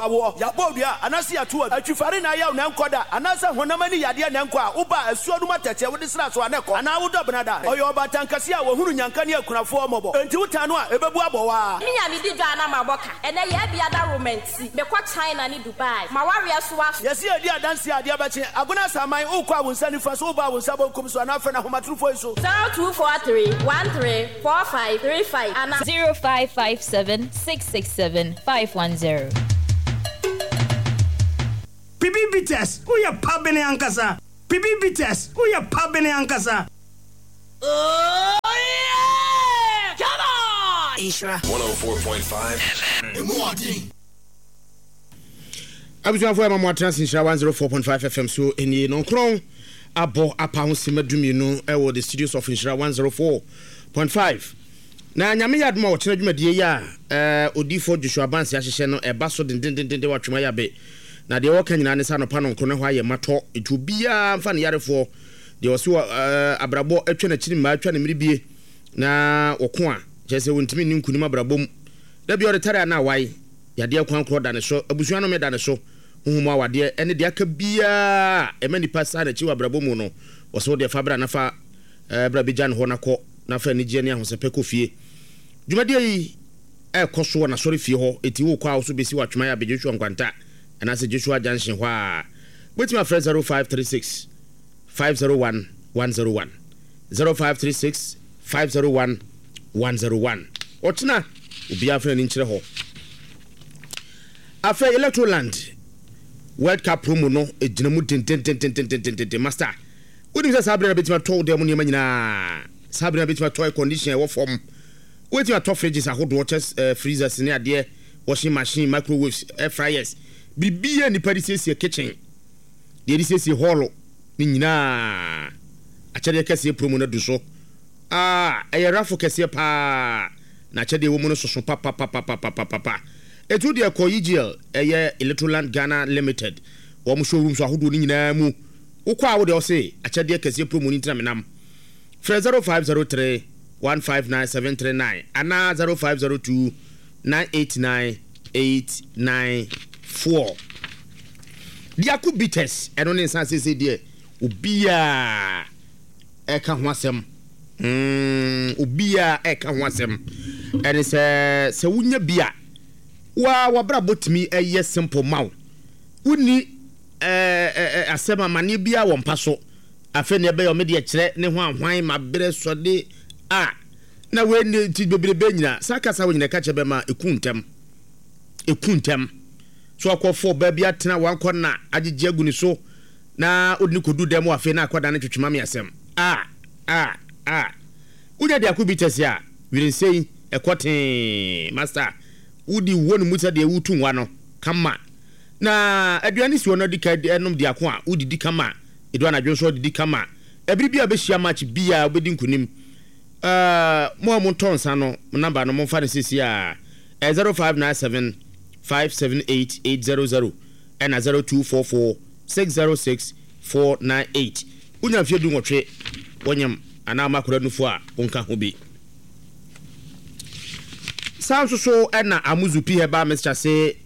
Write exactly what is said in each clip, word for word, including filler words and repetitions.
wopɛ awoɔ, yɛabɔ dua anaasɛ yɛato atwifare na ayɛw na ɛnkɔ da, anaasɛ honam ani yadeɛ na ɛnkɔ a, woba a asuo no mu atɛkyɛ wode sra so a na ɛkɔ, anaa wodɔ benada. Ɔyɛ ɔbaatan kɛseɛ a wɔhunu nyanka ne akunafoɔ mmɔbɔ. Enti wotan no a, ɛbɛbu abɔ wo ara. Me a medi dwa na mabɔ ka. Ɛnɛ yɛ bia da romanti. Mekɔ China ne Dubai. Ma wareɛ so aso. Yɛsi yɛdi adanseɛ a adeɛ bɛkye. Agona Asaman, wokɔ a wo nsa nifa so, woba a wo nsa bonkum so, anaa frɛ no ahomatorofoɔ yi so. zero two four three one three four five three five ana. zero five five seven six six seven five one zero. Pibi Bitters, woyɛ pabene ankasa. Pibi Bitters, woyɛ pabene ankasa. Oh yeah! Come on! Nhyira one oh four point five F M. Abusuafoɔ, ɛma mo atena ase. Nhyira one oh four point five F M so nie. Nɔnkorɔn abɔ apa ho sima dumienu ɛwɔ the studios of Nhyira one oh four point five. Na Nyame yɛ adom a, wɔkyerɛ dwumadie yi a ɛɛ Odiifoɔ Joshua Banse ahyehyɛ no ɛba so dendendenden wɔ Atwema Yabe. Na deɛ wɔka nyinaa ne sɛ anɔpa no nkoro ne hɔ ayɛ matɔ, ɛti obiara mfa ne yarefoɔ deɛ ɔse wɔ ɛɛ abrabɔ atwa n'akyiri mmaa atwa ne mmerɛ na wɔko a kyerɛ sɛ wɔntumi nni nkunim abrabɔ mu da bi ɔde tare a na awae yadeɛ kwan korɔ da ne so, abusua no da ne so, honhom awadeɛ ɛne deɛ aka biara ɛma nipa saa n'akyi wɔ abrabɔ mu no, wɔsɛ wo deɛ fa bra nafa ɛɛ bra bɛgya ne hɔ nakɔ nafa anigyeɛ ne ahosɛpɛ kɔ fie. Dwumadie yi ɛkɔ so wɔ n'asɔre fie hɔ, eti wokɔ a wo bɛsi wɔ Atwema yɛ abɛ Joshua Nkwanta anaasɛ Joshua Junction hɔ a, wobɛtumi afrɛ zero five three six five zero one one zero one, zero five three six five zero one one zero one. Ɔkyena obiara fa n'ani nkyerɛ hɔ. Afei Electroland World Cup promo no gyina mu dendendendendendenden. Master, wonim sɛ saa berɛ na bɛtumi atɔ wo dan mu nneɛma nyinaa. Saa berɛ na bɛtumi atɔ air condition ɛwɔ fam, wobɛtumi atɔ fridges ahodoɔ kyɛ uh, freezers ne adeɛ, washing machine, microwaves, air fryers, biribiara nipa de siesie kitchen deɛ de siesie hall ne nyinaa. Akyɛdeɛ kɛseɛ promo no adu so a ɛyɛ rafo kɛseɛ paa, na akyɛdeɛ wɔ mu no soso papapapapapapa. Ɛtu deɛ kɔ E G L, ɛyɛ Electroland Ghana Limited, wɔn showrooms ahodoɔ no nyinaa mu. Wokɔ a, wode ɔse akyɛdeɛ kɛseɛ promo no ntina menam. Frɛ zero five zero three one five nine seven three nine anaa zero five zero two nine eight nine eight nine four. Diako Bitters, ɛno ne nsa sese deɛ obiaa ɛka ho asɛm mm, obiaa ɛka ho asɛm. Ɛne sɛ sɛ wonya bi a, waa wabrabɔ tumi ɛyɛ simple ma wo. Wonni ɛɛ asɛm amanneɛ biara wɔ mpa so. Afei ne ɛbɛyɛ ɔmo deɛ kyerɛ ne ho ahwan ma berɛ sɔde a na wei ne ti bebrebe nyina saa kasa wɔ nyina ɛka kyerɛ bɛma eku ntɛm, eku ntɛm so akɔfo ɔbaa bi atena wankɔ na agyegye agu ne so na ɔde ne kɔdu dɛm wɔ. Afei na akɔda ne twetwema me asɛm a a a wonya de ako bi tɛse a winsɛn ɛkɔ tee. Master, wodi wɔ ne mu sɛ deɛ wotu nwa no kama na aduane si hɔ no, adi ka ɛnom de ako a wodidi kama. Edu anadwo nso ɔdidi kama. Ɛbiri bi a bɛhyia match biara, wobɛdi nkunim. ɛɛ mo a montɔ nsa no, number no momfa no sisi a ɛ zero five nine seven five seven eight eight zero zero ɛna zero two four four six zero six four nine eight. Wonya mfeɛ du nwɔtwe, wɔnyam anaa ɔma akwadaa nufo a, wonka ho bi. Saa nso so ɛna Amuzu P Herbal Mixture se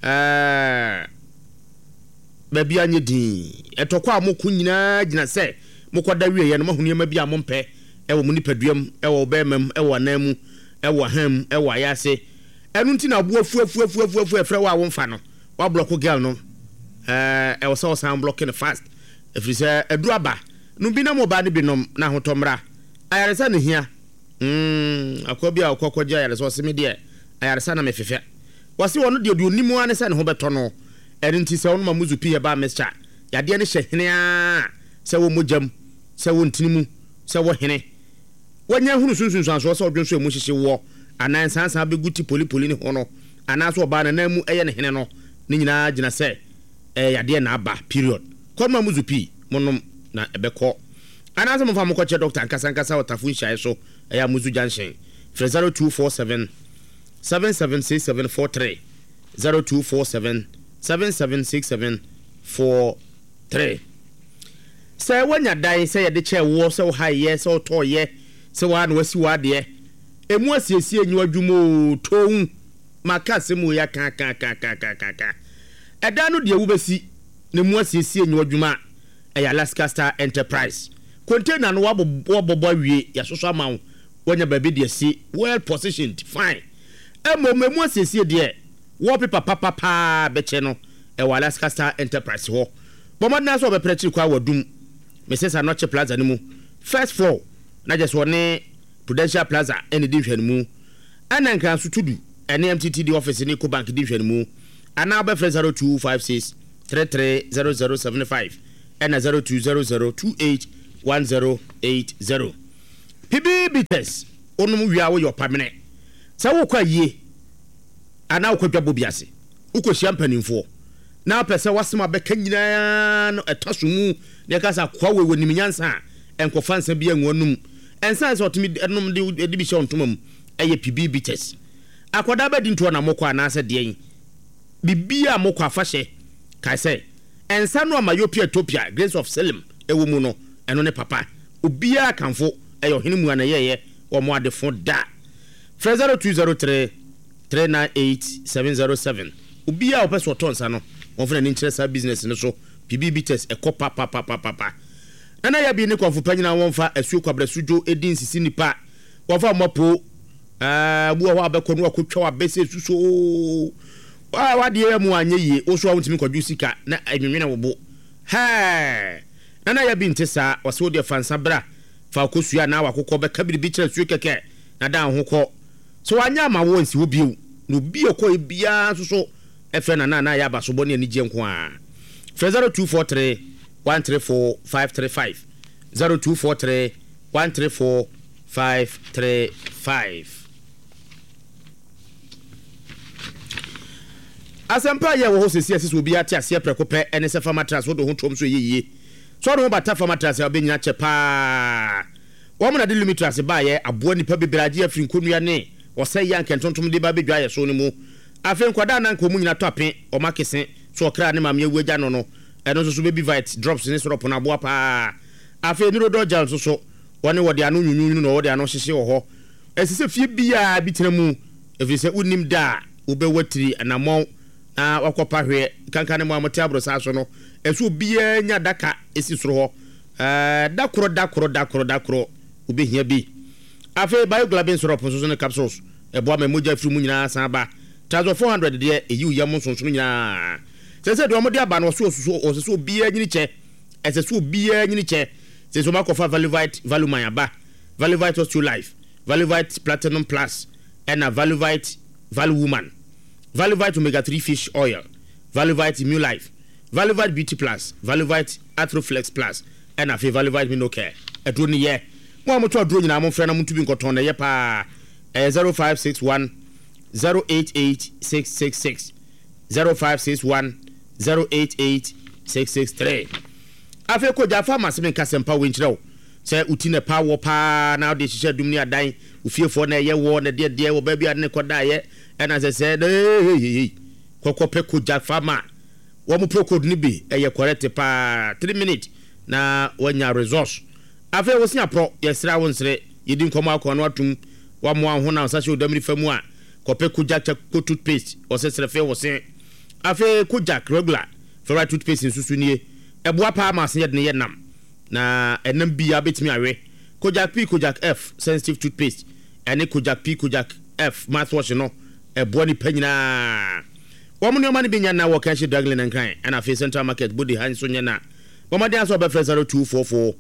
ɛɛ baabi anyɛ din ɛtɔkɔ a moko nyinaa gyina sɛ mokɔda wieɛ no, moahu nneɛma bi a mompɛ ɛwɔ mo nipaduam, ɛwɔ bɛrima mu, ɛwɔ anan mu, ɛwɔ ahan mu, ɛwɔ ayase. Ɛno nti na aboa fuafuafuafuafu ɛfrɛ wo a womfa no, woablock girl no. ɛɛ ɛwɔ sɛ ɔsan block no fast, ɛfiri sɛ aduru aba no bi nam ɔbaa no bi nom na ahotɔ mmra. Ayaresa ne hia mm akoa bi a ɔkɔ kɔgye ayaresa, ɔse me deɛ ayaresa na mefefɛ. Wɔse ɔno deɛ deɛ onim ara ne sɛ ne ho bɛtɔ no. Ɛno nti sɛ ɔnom Amuzu Pii Herbal Mixture, yadeɛ no hyɛ hene a sɛ wɔ mogyam, sɛ wɔ ntini mu, sɛ wɔ hene wɔnya hunu sunsunsuansoɔ sɛ ɔdwo nso emu hyehye wɔ anaa nsansan bɛgu ti polipoli ne ho no, anaasɛ ɔbaa nanan mu ɛyɛ ne hene no, ne nyinaa gyina sɛ ɛyɛ yadeɛ na aba period. Kɔnom Amuzu Pii monom na ɛbɛkɔ, anaasɛ momfa mokɔkyerɛ doctor ankasa ankasa wɔ Tafo nhyiaeɛ so, ɛyɛ Amuzu Junction. Frɛ zero two four seven seven seven six seven four three, zero two four seven seven seven six seven four three. Sɛ woanya dan sɛ yɛde kyɛɛ woɔ, sɛ wohaeɛ, sɛ wotɔɔyɛ, sɛ woa na wasi w'adeɛ, ɛmu asiesie nyi w'adwuma o, towu Maka asɛm wei aka aka aka aka aka aka aka. Ɛdan no deɛ wobɛsi na mu asiesie nyɛ adwuma a, ɛyɛ Alaska Star Enterprise. Container no wabobɔ wabobɔ awie, yɛasosɔ ama wo, woanya baabi de asi, well positioned, fine. Mmom emu asiesie deɛ, wallpaper papa paa bɛkyɛ no, ɛwɔ Alaska Star Enterprise hɔ. Bɔ mmɔden ara sɛ wɔbɛpere akyiri kwan wɔ Adum, Mrs. Anokye Plaza no mu, first floor, na kyerɛ sɛ wɔne Prudential Plaza na ɛdi nhwɛanimu. Ɛna Nkranso Tudu ɛne M T T D office ne Ecobank di nhwɛanimu. Anaa wobɛfrɛ zero two five six three three zero zero seven five ɛna zero two zero zero two eight one zero eight zero. P B Bitters, wonom wie a woyɛ ɔpamene. Sɛ wokɔ ayie anaa wokɔ dwabɔ bi ase, wokɔhyia mpanimfoɔ na wopɛ sɛ w'asɛm a bɛka nyinaa no ɛtɔ so mu na yɛka sɛ akoa wei wɔnim nyansa a, ɛnkɔfa nsa bi angu anum. Ɛnsa sɛ ɔtumi nom de de bi hyɛ wo ntoma mu ɛyɛ P B Bitters. Akwadaa bɛdi ntoɔ na mokɔ anaasɛ deɛn? Biribiara a mokɔ afahyɛ, kae sɛ nsa no a Myopia Ethiopia Grains of Selim ɛwɔ mu no, ɛno ne papa. Obiara kamfo, ɛyɛ ɔhene mua na ɛyɛɛyɛ wɔ mo adefo da. Frɛ zero two zero three three nine eight seven zero seven. Obiara a wɔpɛ sɛ ɔtɔ nsa no, wɔmfa n'ani nkyerɛ saa business no so. P B Bitters ɛkɔ papapapapa. Nana Yabi ne kɔnfo pa nyinaa wɔmfa asuo kwabrɛ dwo edi nsisi nipa. Wɔmfa mmɔ po. Ɛɛ bu wɔ hɔ a bɛkɔ no akɔtwa wabɛsɛ suso. Waa wadeɛ yɛ mu anyɛ yie, wo so a wontumi kɔdwo sika na ɛnwenwene wo bo. Hɛɛ! Nana Yabi nte saa, ɔsɛ wo deɛ fa nsa bra, fa akosua anaa wakokɔ bɛka biribi kyerɛ suo kɛkɛ na dan ho kɔ. Sɛ wanyɛ ama wo nsi hɔ bio, na obi a ɔkɔɛ biara nso so ɛfrɛ Nana anaa yɛ abasobɔ ne anigyeɛ nko ara. Frɛ zero two four three one three four five three five, zero two four three one three four five three five. Asɛmpa a yɛ wɔ hɔ sɛsi ɛsɛ sɛ obiara te aseɛ prɛko pɛ ɛne sɛ fa mattress wode ho tom so ɛyɛ yie. Sɛ wode ho bata fa mattress a, wobɛnyina kyɛ paa. Wɔn na de Lumitras baayɛ aboa nnipa bebree agye afiri nkonnua ne ɔsɛe yɛ anka ntontom de ba bɛdwa yɛ so no mu. Afei nkwadaa na anka wɔn nyina tɔ ape wɔn akese so ɔkra ne maame awu agya no no ɛno nso so Baby Vite drops ne syrup no aboa paa. Afei Neurodol gel nso so wɔne wɔde ano nwunwunu na wɔde ano hyehye wɔ hɔ. Ɛsɛ sɛ fie biara bi tena mu, ɛfiri sɛ wonnim da a wobɛwɔ tiri anammɔn na wakɔpa hweɛ kankan ne mu a mote aborosaa so no. Ɛsɛ obiara nya daka ɛsi soro hɔ. Ɛɛ da koro da koro da koro da koro wobɛhia bi. Afei Bioglabin syrup nso so ne capsules ɛboa ma mogya firi mu nyinaa san ba. Trazol four hundred deɛ, ɛyi wo yam nsonsono nyinaa. Sɛ sɛ deɛ ɔmode aba no, ɔsɛ ɔsɛ sɛ obiara nyini kyɛ, ɛsɛ sɛ obiara nyini kyɛ. Sɛ sɛ ɔmakɔfa Valuvite Valuman aba, Valuvite Osteo Life, Valuvite Platinum Plus, ɛna Valuvite Valuwoman, Valuvite Omega three Fish Oil, Valuvite Immune Life, Valuvite Beauty Plus, Valuvite Arthroflex Plus, ɛna afei Valuvite Minocare. Aduro no yɛ mo a motɔ aduro nyinaa, momfrɛ na monto bi nkɔtɔn na ɛyɛ paa. Ɛyɛ zero five six one zero eight eight six six six, zero five six one zero eight eight six six three. Afei kɔgya fa ma sɛ menka sɛmpa wei nkyerɛ wo sɛ woti ne pa wɔ paa na wode hyehyɛ dum ne adan ofiefoɔ na ɛyɛ wɔ na deɛ deɛ wɔ baabi a ne kɔdaeɛ ɛna sɛ sɛ hehehehe kɔkɔ pɛ Kogya Farma wɔn Procold no bi, ɛyɛ correct paa, three minutes na wanya resource. Afei wosi aporɔ, yɛsrɛ wo nsere yɛdi nkɔmmɔ akɔ ano atum wamoa ho na nsa hyɛ odamiri fa mu a, kɔpɛ Kogya Charcoal toothpaste, ɔsɛ srɛfɛ wɔ se. Afei Kojak Regular fluoride toothpaste nso so nie, ɛboa paa ma ase yɛde ne yɛ nam na ɛnam biara bɛtumi awe. Kojak P, Kojak F sensitive toothpaste ɛne Kojak P, Kojak F mouthwash no ɛboa nipa nyinaa. Wɔn nneɛma no bi nya na wɔ Kanhye Draglin Nkran, ɛna afei Central Market Bodi ha nso nyɛ na wɔn aso ɔbɛfrɛ zero two four four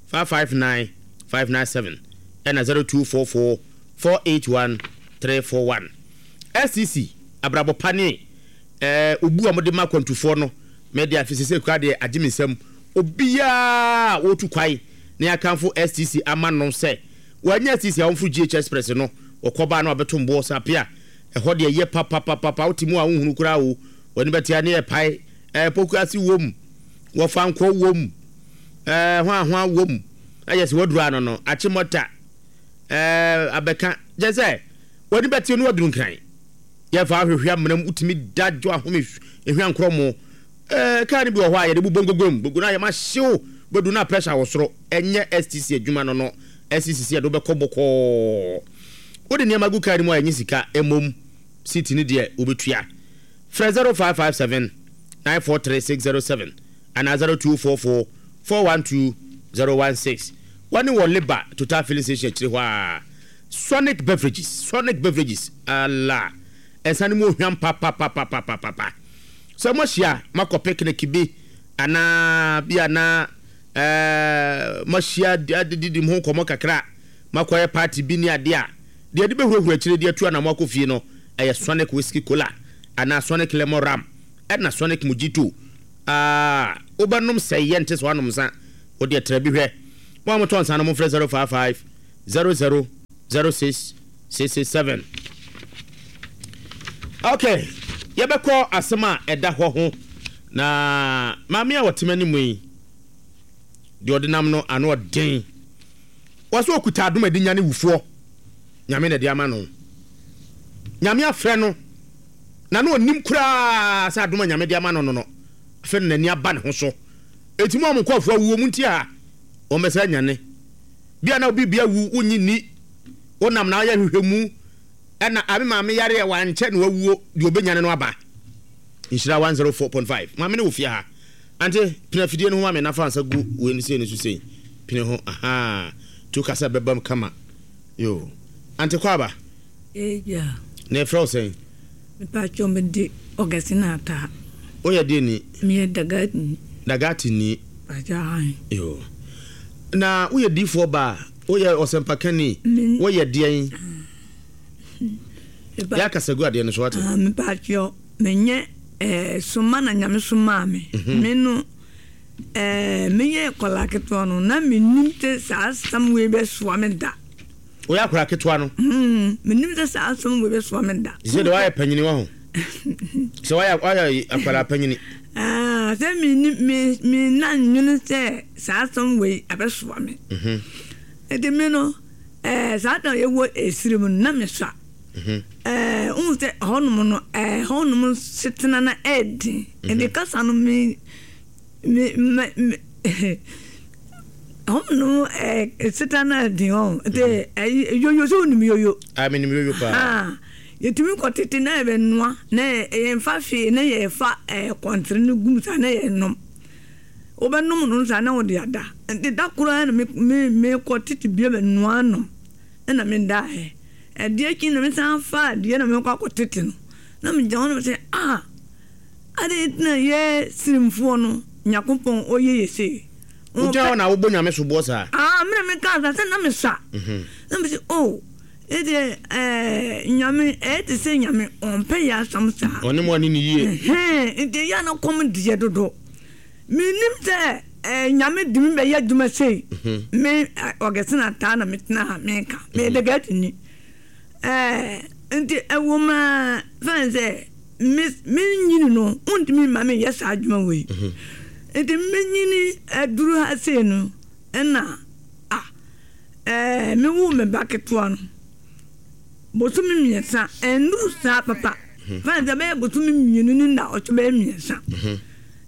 five five nine five nine seven ɛna zero two four four four eight one three four one. S T C abrabɔ pa ne ɛɛ obu a wɔde ma akwantufoɔ no, mɛde afi sese kura deɛ agye me nsam. Obiara a wɔtu kwae na yɛakamfo S T C ama no sɛ wɔanya S T C a wɔmforo G H Express no, wɔkɔbaa no abɛto mboɔ sɛ apea ɛhɔ deɛ yɛ papapapapa. Wote mu a wohunu koraa o, wɔne bɛtea ne yɛ pae ɛɛ Pokuase wom, wɔfa nkɔ wom, ɛɛ hwan wom, ɛyɛ sɛ waduru ano no Akyemɔta ɛɛ abɛka kyɛ sɛ wɔne bɛte no waduru Nkran. Yɛfa ahwehwɛ amena mu, wotumi da dwo ahome ehwɛ nkorɔ mo. Ɛɛ kaa no bi wɔ hɔ a yɛde bobɔ ngogom gogo no a yɛma hyew bɛdu na pressure wɔ soro. Ɛnyɛ S T C adwuma no no S T C yɛde wobɛkɔ bɔkɔɔ. Wode nneɛma gu kaa no mu a ɛnyɛ sika mmom. Seat no deɛ wobɛtua. Frɛ zero five five seven nine four three six zero seven anaa zero two four four four one two zero one six. Wɔne wɔ Liba Total Filling Station akyire hɔ ara. Sonic Beverages, Sonic Beverages, Allah, nsa no mu ohwam papapapapapa. Sɛ moahyia moakɔ picnic bi anaa bi anaa ɛɛ moahyia adididi mo ho nkɔmmɔ kakra, moakɔyɛ party bi ne adeɛ a, deɛ ɛde bɛhurahura akyire de atu anamo akɔ fie no, ɛyɛ Sonic Whiskey Cola anaa Sonic Lemon Rum ɛna Sonic Mojito. Ah, wobɛnom sɛe yɛ nte sɛ woanom nsa. Wo deɛ tra bi hwɛ. Mo a motɔ nsa no momfrɛ zero five five zero zero zero six six six seven. Okay, yɛbɛkɔ asɛm a ɛda hɔ ho. Na maame a ɔte m'anim yi, deɛ ɔde nam no ano ɔden. Wɔsɛ ɔkuta adom a ɛde nyane wufoɔ. Nyame na ɛde ama no. Nyame afrɛ no, na na ɔnim koraa sɛ adom a Nyame de ama no no no, afei na n'ani aba ne ho so. Enti mo a mo nkurɔfoɔ awuo, montie ha, wɔmmɛsɛ anyane. Bia na obi bia wu, wonnye nni, wonam na woyɛ nhwehwɛmu, ɛna a me maame yareɛ wankyɛ na wawuo, deɛ ɔbɛnyane no aba. Nhyira one zero four point five. Maame no wɔ fie ha. Ante, pene afidie no ho ma me na fa nsa gu wei no sei no so sei. Pene ho, ahaa. Tu kasa bɛbam kama. Yo. Ante Kwaba. Agya. Na yɛfrɛ wo sɛn? Mepakyɛw mede Augustine Ataa. Woyɛ deɛ ni? Meyɛ Dagati ni. Dagati ni. Pakyɛw ahe. Yo. Na woyɛ diifoɔ baa? Woyɛ ɔsɛmpakani? Woyɛ deɛn? Yɛ akasa gu adeɛ no so wate. Ah, mepakyɛw menyɛ eh, soma na Nyame somaa me. Mhm. Me no eh, meyɛ kɔla ketewa no na menim sɛ saa asɛm wei bɛsoa me da. Woyɛ akwadaa ketewa no. Mm, menim sɛ saa asɛm wei bɛsoa me da. Sɛ deɛ woayɛ panyini wɔ ho. Sɛ woayɛ woayɛ akwadaa panyini. Ah, sɛ me me me na nwene sɛ saa asɛm wei abɛsoa me. Mhm. Nti me no, eh, saa da yɛwɔ esiri mu no na mesua. Mhm. Eh, wohu sɛ hɔnom no, eh, hɔnom setena na ɛɛden. Nti kasa no me me me me hɔnom eh, setena na ɛɛden hɔ. Nti ɛyi yoyo sɛ wonim yoyo. Ah, menim yoyo paa. Ah, yɛtumi kɔ tete na yɛbɛnoa na yɛmfa hwee na yɛfa eh, kɔntere no gum saa na yɛnom. Wobɛnom no saa na wode ada. Nti da koraa na me me mekɔ tete bia bɛnoa nom ɛna medaeɛ. Ɛdeɛ akyi na mesan fa adeɛ na mekɔ akɔ tete no. Na megyina hɔ na mesɛ ah, adɛn nti na yɛ sirimfoɔ no Nyankopɔn ɔyɛ yɛ sei. Wogyina hɔ na wobɔ Nyame soboɔ saa? Ah, me na mekaa saa sɛ na mesa. Na mese oh, ɛdeɛ eh, Nyame ɛyɛ te sɛ Nyame ɔmpɛ yɛ asɛm saa. Ɔne mo ani ne yie. Ɛhɛn, nti ɛyɛ a na kɔm deɛ dodo. Menim sɛ eh, Nyame de me bɛyɛ adwuma sei. Me eh, Augustine Ataa na metena ha meka. Meyɛ Dagatini. Eh, nti ɛwɔ mu a fɛn sɛ me menyini no wontumi mma menyɛ saa adwuma wei. Nti menyini aduru ha sei no ɛna ah, eh, mewoo me ba ketewa no bosome mmiɛnsa ɛnnuru saa papa. Fɛn sɛ bɛyɛ bosome mmienu ne na ɔtwe bɛyɛ mmiɛnsa.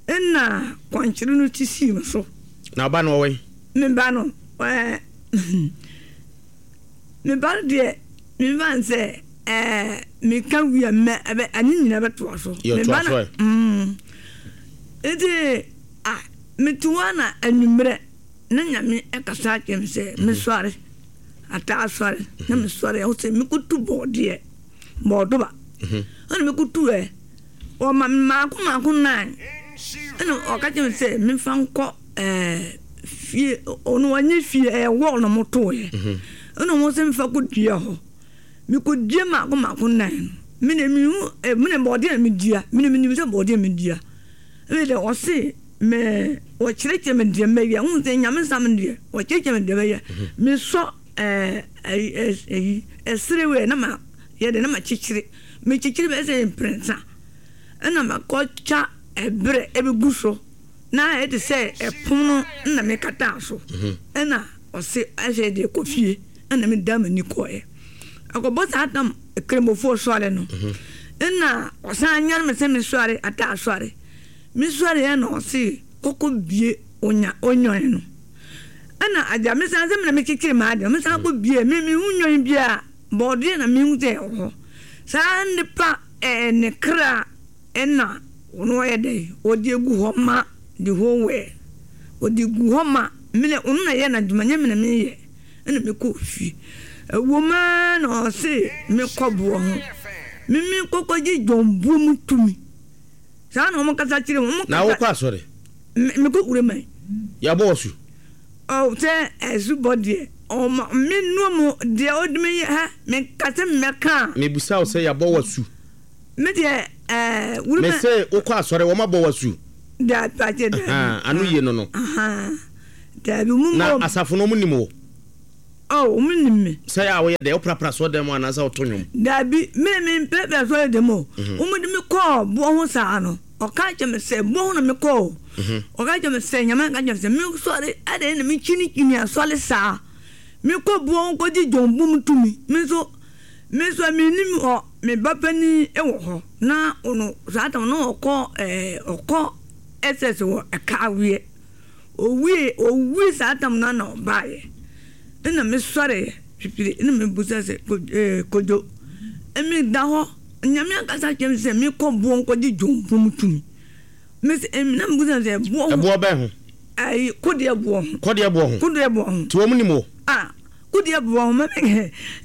Ɛna kwankyerɛ no sisii me so. Na ɔba no ɔwɔ yi? Me ba no, ɛɛ, me ba no deɛ, me ba no sɛ, ɛɛ, meka wie a mɛ ɛbɛ ɛne nyinaa bɛtoa so. Yɛ Me toa ba so no, ɛ. mm, nti, ah, mete hɔ na anwummerɛ na Nyame ɛkasa akyerɛ me sɛ mesɔre, ataa sɔre, na mesɔre, ɛho sɛ mekɔtu bɔɔdeɛ, bɔɔdoba. Ɛna mekɔtu ɛ, ɔma me maako maako nnan. Ɛna ɔka kyerɛ me sɛ memfa nkɔ ɛɛ fie, ɔno ɔnyɛ fie, ɛyɛ wɔl na ɔmotoeɛ. Ɛna ɔmo sɛ memfa kɔdua hɔ. Mekɔdua maako maako nnan no, me na mehu ɛ me na bɔɔdeɛ na medua, me na menim sɛ bɔɔdeɛ medua. Ɛna deɛ ɔse me ɔkyerɛkyerɛ me deɛ mɛyɛ, wohu sɛ Nyame nsam deɛ ɔkyerɛkyerɛ me deɛ mɛyɛ. Mesɔ ɛɛ ɛyi ɛyi ɛsere wei na ma yɛ deɛ na ma kyekyere, mekyekyere bɛyɛ sɛ mprɛnsa. Ɛna makɔtwa ɛberɛ ɛbɛgu so na ayɛ te sɛ ɛpono na mekataa so. Ɛna ɔse ɛsɛ deɛ kɔ fie ɛna meda m'ani kɔɛ. Akɔbɔ saa tam kramofoɔ sɔre no. Ɛna ɔsan nyane me sɛ mesɔre ata asɔre. Mesɔre ɛna ɔse kɔkɔ bie onya onwan no. Ɛna agya mesan sɛ mena mekyekyere m'ade mesan kɔ bie me mehu nwan biara bɔɔdeɛ na mehu sɛ ɛwɔ hɔ. Saa nipa ɛɛ ne kra ɛna ɔno ɔyɛ dɛ ɔde egu hɔ ma the whole world. Ɔde gu hɔ ma mene ɔno na yɛ n'adwuma nyɛ mene meyɛ. Ɛna mekɔ fie. Ɛwɔ mu ara na ɔse mekɔ boɔ ho. Mimi kɔkɔgye dwombuo mu tumi. Saa na wɔn kasa kyerɛ wɔn. Na wokɔ asɔre? Mekɔ Wureman. Yɛabɔ wɔ so? Ɔ sɛ ɛsubɔ deɛ ɔma me nua mu deɛ ɔde me yɛ ha meka sɛ mmɛka a. Mebusa wo sɛ yɛabɔ wɔ su? Me deɛ ɛɛ Wureman. Me se wokɔ asɔre wɔn abɔ wɔ su? Daabi akyɛ daabi. Ano yie no no. Daabi mu Na asafo no wɔn nim wo? Oh, wɔn nim me. Sɛ yɛ a woyɛ dɛ woprapra asɔre mu anaasɛ woto nnwom? Daabi, me me mprapra asɔre dɛm o. Wɔn de me kɔɔ boɔ ho saa no, ɔka kyerɛ me sɛ boɔ ho na me kɔɔ o. Ɔka kyerɛ me sɛ Nyame aka kyerɛ me sɛ me sɔre adɛn na me kyinikyini asɔre saa. Me kɔ boɔ ho kɔgye John Bum tumi. Me nso me nso me nim hɔ, me ba panin wɔ hɔ na ɔno saa tam no ɔkɔ ɛɛ ɔkɔ S S wɔ Ɛkaaweɛ. Owie owie saa tam no na ɔbaeɛ. Ɛna mesɔreeɛ pipire ɛna mebusa sɛ ɛɛ Kojo meda hɔ Nyame ankasa kyerɛ me sɛ mekɔ boɔ nkɔgye dwompo mu tumi. Mese na mebusa sɛ boɔ ho. Ɛboɔ bɛn ho? Ɛyi kodeɛ boɔ ho. Kodeɛ boɔ ho. Kodeɛ boɔ ho. Nti wɔn nim wo? Ah kodeɛ boɔ ho mɛ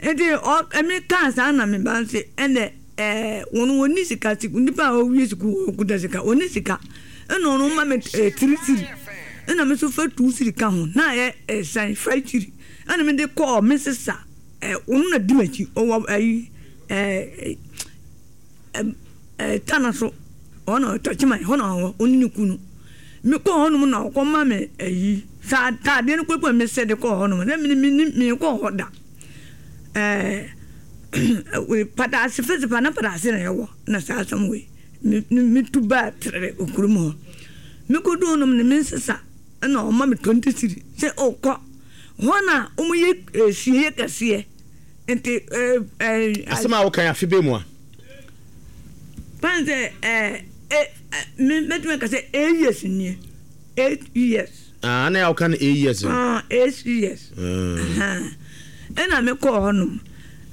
nti ɔ ɛmi kaa saa na me ba nse ɛnɛ ɛɛ wɔn wɔn ni sika nipa a ɔwie sukuu wɔn kuta sika wɔn ni sika ɛna ɔno ma me ɛɛ tiri tiri. Ɛna me nso fa two cedi ka ho na ayɛ ɛsan five cedi ɛna me de kɔɔ me sisa ɛ ɔno na di m'akyi ɔwɔ ɛyi ɛɛ ɛɛ tana so ɔno tɔkyiman hɔ na ɔwɔ ɔne ne kunu me kɔɔ hɔnom na ɔkɔ ma me ɛyi saa taadeɛ no kɔkɔ me sɛ de kɔɔ hɔnom na me me me kɔɔ hɔ da ɛɛ pataase fɛsɛ na pataase na ɛwɔ na saa asɛm wei me me tu baa tere okurum hɔ. Mekɔduu hɔnom no, me nsesa na ɔma me twenty cedi sɛ ɔkɔ hɔ na wɔyɛ asieeɛ kɛseɛ nti. Asɛm a woka yi afe bɛn mu a? Fan sɛ ɛɛ me mɛtumi aka sɛ eight years nie, eight years. Ah, na yɛ woka no eight years no. Ah, eight years. Ɛna mekɔɔ hɔnom.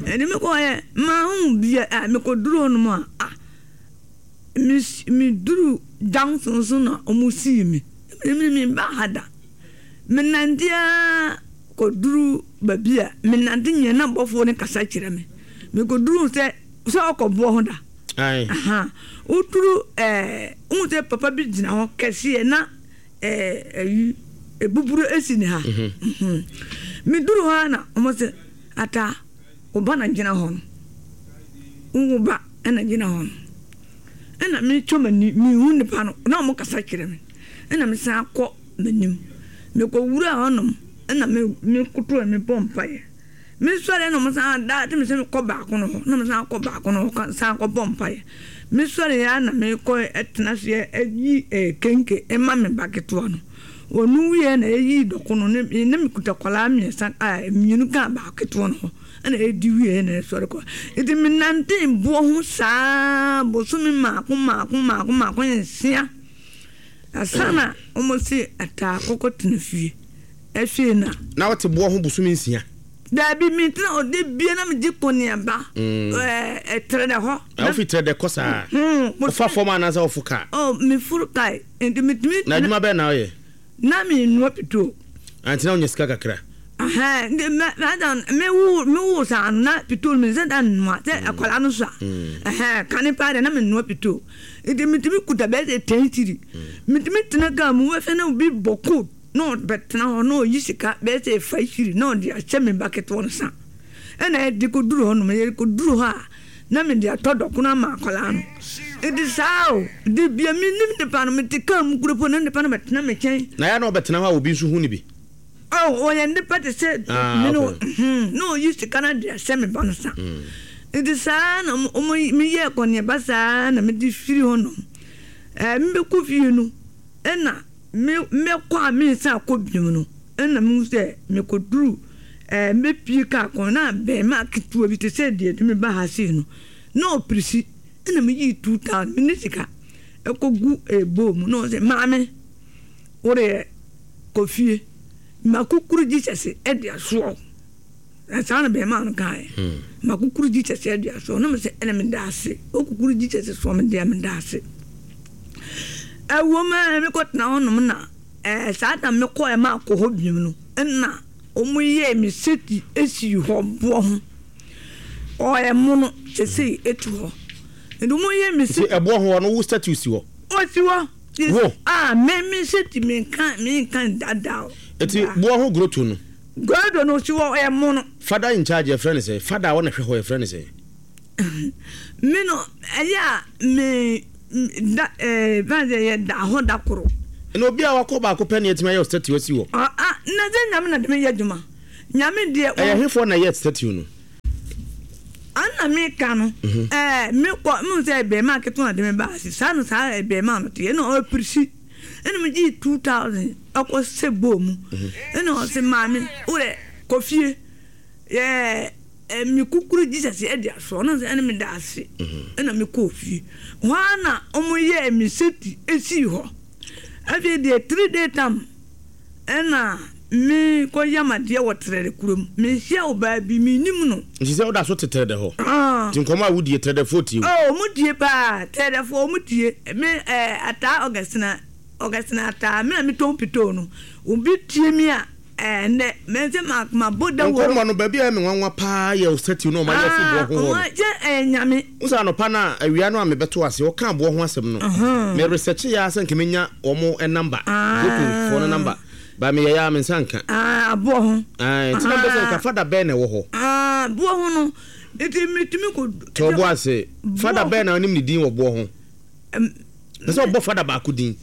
Ɛne mekɔɔ yɛ mahu bia a mekɔduru hɔnom a ah. Me duru junction so na ɔmo sii me. Me me ba ha da. Me nante ara kɔduru baabi a me nante nyɛ na bɔfoɔ no kasa kyerɛ me. Me kɔduru sɛ sɛ ɔkɔ boɔ ho da. Aha. Woduru ɛɛ wohu sɛ papa bi gyina hɔ kɛseɛ na ɛɛ ɛyi ebuburo esi ne ha. Me duru hɔ ara na ɔmo sɛ ata wo ba na gyina hɔ no. Wo ba na gyina hɔ no. Ɛna metwa m'ani mehu nipa no na ɔmo kasa kyerɛ me. Ɛna mesan kɔ m'anim. Mekɔwura hɔnom ɛna me mekoto me bɔ mpaeɛ. Mesɔre na ɔmo san da te me sɛ mekɔ baako no hɔ na mesan kɔ baako no hɔ san kɔ bɔ mpaeɛ. Mesɔre ya na mekɔ ɛtena aseɛ ɛyi ɛɛ kenke ɛma me ba ketewa no. Ɔno wie na ɛyi dɔko no ne ne mekuta kɔlaa mmiɛnsa a mmienu ka baako ketewa no ho. Ɛna ɛdi wie na ɛsɔre kɔ. Nti menante boɔ ho saa bosome mmaako mmaako mmaako mmaako nsia. Ansa na wɔn se ataa kɔkɔ tena fie. Ɛhwee na. Na wote boɔ ho bosome nsia? Daabi, mentena hɔ da bia na megye kɔneaba ɛɛ Trɛdɛ hɔ. Na wofi Trɛdɛ kɔ saa? Wofa fam anaasɛ wofo kaa? Oh, meforo kaa. Nti metumi. Na adwuma bɛn na woyɛ? Na mennoa pitoo. Nti na wonya sika kakra? Ɛhɛn, nti mɛ mɛ me wo me wo saa no na pitoo no mensɛ da nnoa sɛ akwadaa no so a. Ɛhɛn, kane paa deɛ na mennoa pitoo. Nti metumi kuta bɛyɛ sɛ ten cedi. Metumi tena kaa mu wobɛhwɛ na obi bɔ coat na ɔbɛtena hɔ na ɔyi sika bɛyɛ sɛ five cedi na ɔde ahyɛ me ba ketewa no sa. Ɛna yɛde kɔduru hɔnom, yɛde kɔduru hɔ a na mede atɔ dɔkono ama akwadaa no. Nti saa o, de bia mennim nipa no, mete kaa mu kuro po na nipa no bɛtena me nkyɛn. Na yɛ a na ɔbɛtena hɔ a obi nso hu no bi? Oh, ɔyɛ nipa te sɛ me no, na ɔyi sika no de ahyɛ me ba no sa. Nti saa na ɔmo meyɛɛ kɔneaba saa na mede firi hɔnom. Ɛɛ mebɛkɔ fie no, ɛna me mɛkɔ a mensan akɔ biom no, ɛna mehu sɛ mekɔduru ɛɛ mɛpie kaa kwan na abɛɛmaa ketewa bi te sɛ deɛ ɛde me ba ha sei no, na ɔpirisi, ɛna meyii two thousand, menni sika, ɛkɔgu ɛɛ bowl mu na ɔsɛ maame, wodeɛ kɔ fie, makukuru Jesus ɛde asoa wo. Saa na bɛrima no kaeɛ. Makukuru Jesus adua so na mesɛ ɛna meda ase. Okukuru Jesus so me deɛ meda ase. Ɛwɔ mu a mekɔtena hɔnom na ɛɛ saa da mekɔɛ ma akɔ hɔ biom no ɛna ɔmo yɛɛ me seti esi hɔ boɔ ho. Ɔyɛ mono sesei etu hɔ. Nti ɔmo yɛ me seti. Nti ɛboɔ ho no wo statue si hɔ? Ɔsi hɔ. Wo? Ah me me seti me nka me nka dada o. Nti boɔ ho groto no? Groto no si hɔ ɔyɛ mono. Father in charge yɛfrɛ no sɛn? Father a ɔna hwɛ hɔ yɛfrɛ no sɛn? Me no ɛyɛ a me da ɛɛ fɛn sɛ yɛ da hɔ da koro. Na obi a wakɔ baako pɛ na yɛtumi ayɛ statue asi hɔ. Ah ah na sɛ Nyame na de me yɛ adwuma. Nyame deɛ. Ɛyɛ hefoɔ na ɛyɛ statue no? Ana me ka no ɛɛ me kɔ me sɛ bɛrima ketewa na de me ba ase saa no saa bɛrima no te ɛna ɔpirisi ɛna me gye two thousand ɛkɔ sɛ bɔɔ mu ɛna ɔsɛ maame wodɛ kɔ fie yɛ me kukuru Jesus ɛde aso ɔno sɛ ɛna me da ase ɛna me kɔ fie hɔ ara na ɔmo yɛɛ me seti esii hɔ afei deɛ three day tam ɛna me kɔ yam adeɛ wɔ Trɛdɛ kurom mehyia ɔbaa bi menim no. Nti sɛ woda so te Trɛdɛ hɔ? Nti nkɔmmɔ a wodie Trɛdɛfoɔ tie wo? Oh ɔmo tie paa Trɛdɛfoɔ ɔmo tie me ɛɛ Ataa Augustina Augustina Ataa me na metɔn pitoo no obi tie me a ɛɛ nnɛ me sɛ ma mabɔ dawuro. Nkɔmmɔ no baabi a ɛyɛ me nwanwa paa yɛ statue no a ɔmo ayɛ asi boɔ ho hɔ no. Ah ɔmo kyɛ ɛyɛ Nyame. Wohu sɛ anɔpa no a awia no a mebɛto ase ɔkaa boɔ ho asɛm no me research yɛ ara sɛ nka menya wɔn number Grotofoɔ no number. Ba meyɛe ara me nsa nka. Ah, aboɔ ho. Ah, nti na mpɛ sɛ nka fada bɛn na ɛwɔ hɔ. Ah, boɔ ho no, nti metumi kɔ. Tɔ bo ase. Fada bɛn na onim ne din wɔ boɔ ho? Pɛ sɛ ɔbɔ fada baako din.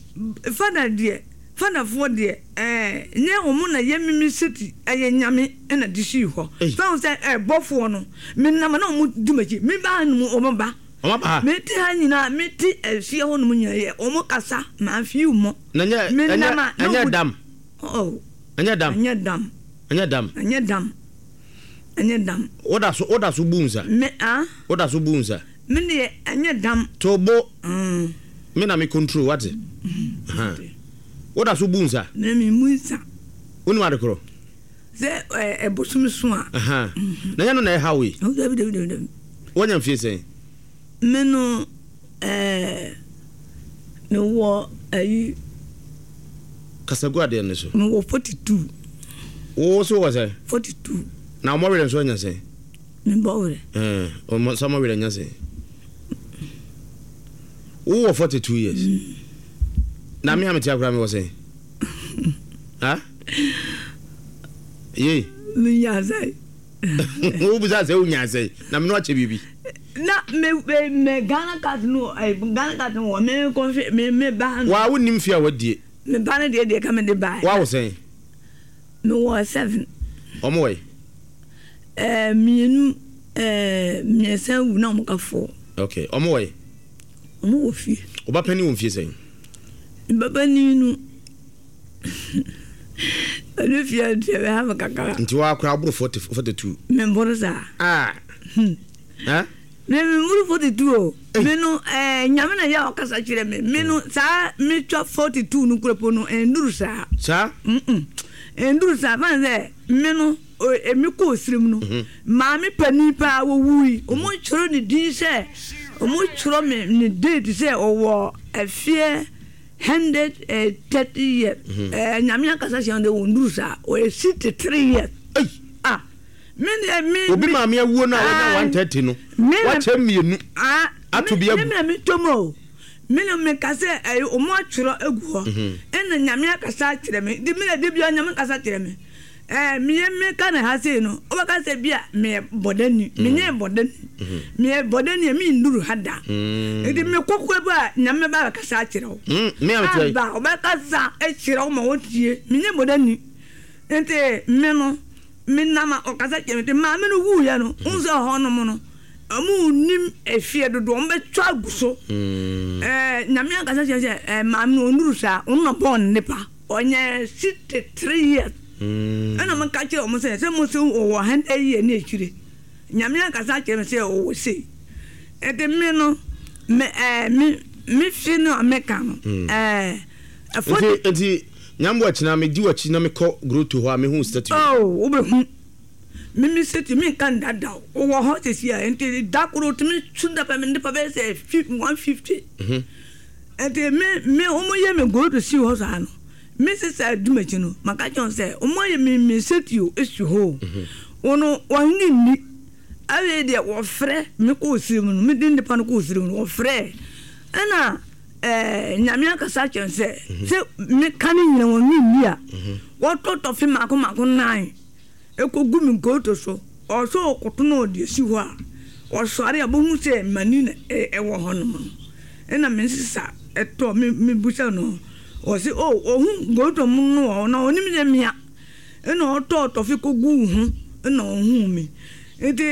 Fada deɛ, fadafoɔ deɛ, ɛɛ, nyɛ wɔn na yɛ mimi seti, ɛyɛ Nyame na de sii hɔ. Fɛn ho sɛ ɛɛ bɔfoɔ no, menam na wɔn di m'akyi, me ba ha nom wɔn ba. Wɔn aba ha. Mete ha nyinaa, mete ɛfie hɔ nom nyinaa yɛ wɔn kasa, maa fi wɔn. Na nyɛ ɛnyɛ ɛnyɛ dam. Oh. Ɛnyɛ dam. Ɛnyɛ dam. Ɛnyɛ dam. Ɛnyɛ dam. Ɛnyɛ dam. Woda so woda so bu nsa. Me ah. Woda so bu nsa. Me deɛ ɛnyɛ dam. To bo. Mm. Me na me control wate. Mm. Woda so bu nsa. Me me mu nsa. Wonim ade korɔ. Sɛ ɛbosom so a. Aha. Na nyɛ no na ɛha wo yi. Dabi dabi dabi dabi. Woanya mfie sɛn? Me no ɛɛ me wɔ ayi. Kasa gu adeɛ no so. Me wɔ forty two. Wo so wɔ sɛn? Forty two. Na ɔmɔ werɛ nso anya sɛn? Me bɔ werɛ. Ɛɛ ɔmɔ sɛ ɔmɔ werɛ anya sɛn? Wo wɔ forty two years. Mm. Na me a me te akora me wɔ sɛn? Ha? Yei. Me nya sɛn? Wo bisa sɛ wo nya sɛn? Na me no akyɛ biribi. Na me me me Ghana card no eh, Ghana card no wɔ me kɔhwɛ me me ba no. Wa wo nim fie a wadie. Me ba no deɛ deɛ ka me de ba. Wa wo sɛn? Me wɔ seven. Ɔmo wɔ yi? Eh, mmienu eh, mmiɛnsa wu na ɔmo ka four. Okay, ɔmo wɔ yi? Ɔmo wɔ fie. Ɔba panin wɔ mfie sɛn? Me ba panin no ɔno fie deɛ bɛha me kakra. Nti wa akora aboro forty forty two. Me mboro saa. Ah. Hmm. Eh? Me me mboro forty two o. Me no eh Nyame na yɛ ɔkasa kyerɛ me. Me no saa me twa forty two no kura po no enduru saa. Saa? Mm. Enduru saa fan sɛ me no emi kɔ osirim no. Maame panin paa wɔwui. Ɔmo twerɛ ne din sɛ ɔmo twerɛ me ne date sɛ ɔwɔ ɛfeɛ hundred thirty years. Eh Nyame akasa kyerɛ me dɛ ɔnduru saa. Ɔyɛ sixty three years. Ah. Me deɛ me. Obi maame awuo no a wanya one thirty no wakyɛ mmienu ato bi agu. Me na me tɔ mu o. Me na me ka sɛ ɛyɛ ɔmo atwerɛ agu hɔ. Ɛna Nyame akasa akyerɛ me. Nti me na de bia Nyame kasa kyerɛ me. Ɛɛ meyɛ me ka na ha sei no wobɛka sɛ bia meyɛ bɔdani. Menyɛ bɔdani. Meyɛ bɔdani a menduru ha da. Nti me kɔkɔ bi a Nyame ba bɛkasa akyerɛ wo. Aba ɔbɛkasa akyerɛ wo ma wotie. Menyɛ bɔdani. Nti me no me nam a ɔkasa kyerɛ me nti maame no wuiɛ no wohu sɛ hɔ nom no ɔmo nnim efie dodoɔ ɔmo bɛtwa agu so ɛɛ Nyame ankasa kyerɛ sɛ ɛɛ maame no ɔnuru saa ɔno na ɔbɔɔ ne nipa ɔnyɛ sixty three years ɛna mo ka kyerɛ ɔmo sɛ sɛ mo se ɔwɔ hundred year ne akyire Nyame ankasa kyerɛ me sɛ ɔwɔ sei nti me no me ɛɛ me me fi no a meka no ɛɛ ɛfɔ. Nti nti Nyambo akyina me di w'akyi na me kɔ grotto hɔ a me hu statue. Oh wo bɛ hu. Me me sɛ tumi nka ndada o, wɔ hɔ sisi a, nti da koro tumi su da pɛ me nipa bɛyɛ sɛ one fifty. Nti me me wɔn yɛ me gold si hɔ saa no, me sisa adwumakyi no, maka kyerɛ wɔn sɛ wɔn ayɛ me me setio esi hɔ o. Wɔn wɔn nni. Afei deɛ wɔfrɛ me kɔɔ siri mu no, me de nipa no kɔɔ siri mu no, wɔfrɛ ɛna ɛɛ Nyame akasa kyerɛ sɛ sɛ meka ne nyina wɔn nni a, wɔtɔ tɔfe mako mako nnan ɛkɔgu me nkoto so, ɔsɛ ɔkoto na ɔde asi hɔ a, ɔsɔre a bohu sɛ mani na ɛwɔ hɔ nom no. Ɛna me nsesa ɛtɔ me me busa no, ɔse o ɔhu nkoto mu no wɔ hɔ na ɔnim sɛ mea, ɛna ɔtɔɔ tɔfe kɔguu ho ɛna ɔhuu me. Nti